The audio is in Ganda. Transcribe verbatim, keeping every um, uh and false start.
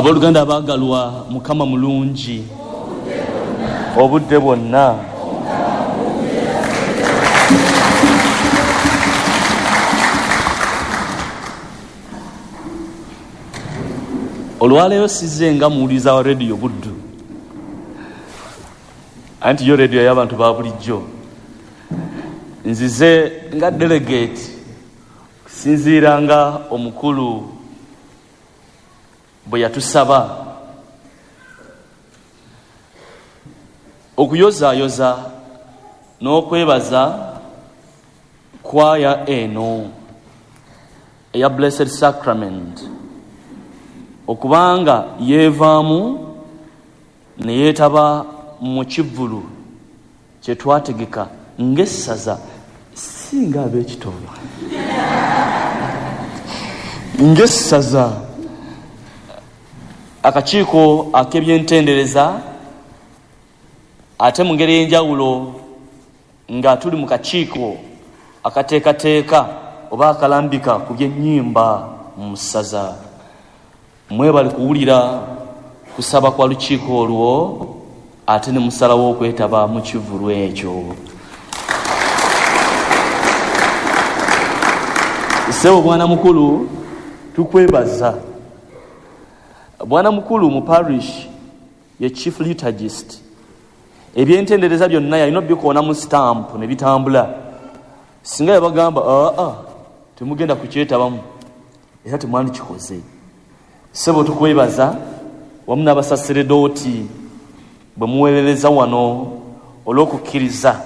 Abooluganda abaagalwa, Mukama mulungi obudde bwonna. Olwaleero sizze nga muwuliriza wa rediyo Buddu, anti yo rediyo y'abantu ba bulijjo. Nzize nga delegate kusinziira nga omukulu bwe yatusaba okuyozaayoza n'okwebaza kwaya eno eya Blessed Sacrament okubanga yeevaamu ne yeetaba mu kivvulu kye twategeka ng'essaza, si nga ab'ekitoola, ng'essaza akakiiko ak'ebyentendereza, ate mu ngeri ey'enjawulo nga tuli mu kakiiko akateekateeka oba akalambika ku by'ennyimba mu ssaza. Mwebale kuwulira kusaba kwa lukiiko olwo, ate ne musalawo okwetaba mu kivvulu ekyo. Ssebo bwana mukulu, tukwebaza. Bwana mukulu mu parish ye chief liturgist, ebyentendereza byonna yalina obikoona mu stamp ne bitambula. Singa yabagamba aa temugenda kukyetabamu, era temwandikikoze. Ssebo tukwebaza wamu n'abasaseredooti bwe muweerereza wano olw'okukkiriza.